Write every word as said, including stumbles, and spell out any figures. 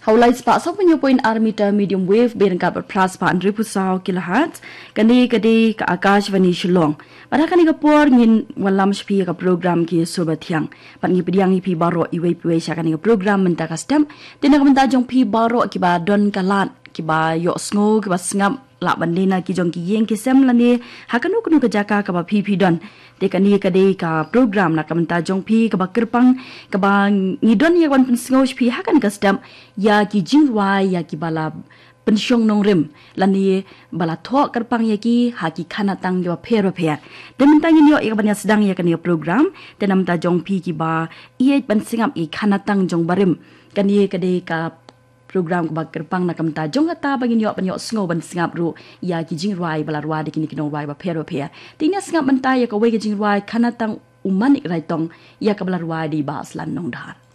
Ha u lai spah saw phew hynñiew point ar meter medium wave, bad ryngkat bad phra spah hynriew phew saw kilohertz. Kane ka dei ka Akashvani Shillong. Bad ha kane ka por ngin wallam sha phi ïa ka program Ki Sur Bathiang. Bad ngi pdiang ïa phi baroh iwei pa iwei sha kane ka program mynta ka step. Te na ka bynta jong phi baroh kiba don ka lad, kiba ïohsngew, kiba sngap, lah ban leit na ki jong ki ïing ki sem lane ha kano kano ka jaka kaba phi phi don. Te kane ka dei ka program na ka bynta jong phi kaba kyrpang, kaba ngi don ïa ka ban pynsngew sha phi ha kane ka step ïa ki jingrwai ïa kiba la pynshong nongrim lane ba la thoh kyrpang ïa ki ha ki khanatang kiba pher ba pher. Te mynta ngin ïoh ïa ka ban ïa sdang ïa kane ka program. Te na ka bynta jong phi kiba ïeit ban sngap ïa ki khanatang jong barim, kane ka dei ka program kaba kyrpang na ka bynta jong kata ba ngin ïoh ban ïohsngew ban sngap ruh ïa ki jingrwai ba la rwai da kine ki nongrwai ba pher ba pher. Te ngin ïa sngap mynta ïa kawei ka jingrwai, Khanatang U Manik Raitong, ïa kaba la rwai da i Bah Slan Nongdhar.